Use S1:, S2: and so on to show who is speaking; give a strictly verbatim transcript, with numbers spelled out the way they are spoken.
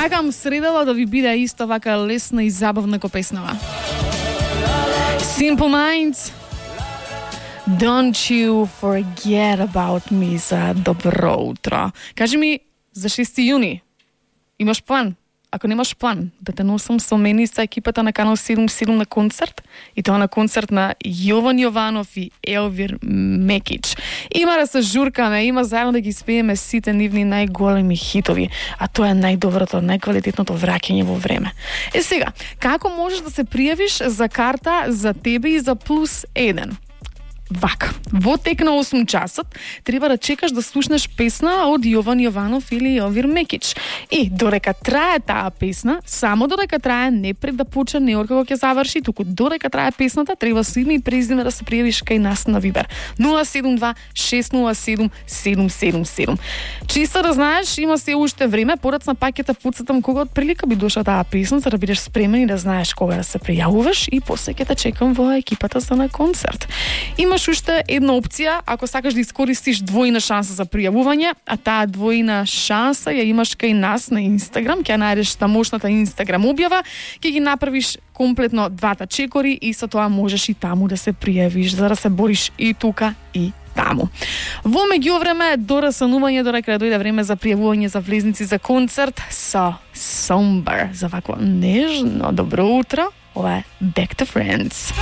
S1: Сакам средала да ви биде исто вака лесна и забавна ко песнава. Simple Minds, Don't you forget about me за добро утро. Кажи ми, за шести јуни имаш план? Ако немаш план, да те носам со мене со екипата на Канал седум седум на концерт, и тоа на концерт на Јован Јованов и Елвир Мекич. Има да се журкаме, има заедно да ги спееме сите нивни најголеми хитови, а тоа е најдоброто, најквалитетното враќање во време. Е сега, како можеш да се пријавиш за карта за тебе и за плюс еден? Вака, во тек на осум часот треба да чекаш да слушнеш песна од Јован Јованов или Елвир Мекич. И додека трае таа песна, само додека трае, не пред да почне, не од кога ќе заврши, туку додека трае песната, треба со име и презиме да се пријавиш кај нас на Вибер. нула седум два шест нула седум седум седум седум. Чисто да знаеш, има се уште време, порацна паќета пуцатам кога од прилика би дошла таа песна, за да бидеш спремен и да знаеш кога да се пријавуваш, и после ќе те чекам во екипата за на концерт. Имаш уште една опција, ако сакаш да искористиш двојна шанса за пријавување, а таа двојна шанса ја имаш кај нас на Инстаграм, ќе најдеш тамошната Инстаграм објава, ќе ги направиш комплетно двата чекори и со тоа можеш и таму да се пријавиш, за да се бориш и тука и таму. Во меѓувреме, до растанување, додека да дојде време за пријавување за влезници за концерт со Somber, за вакво нежно добро утро, ова е Back to Friends.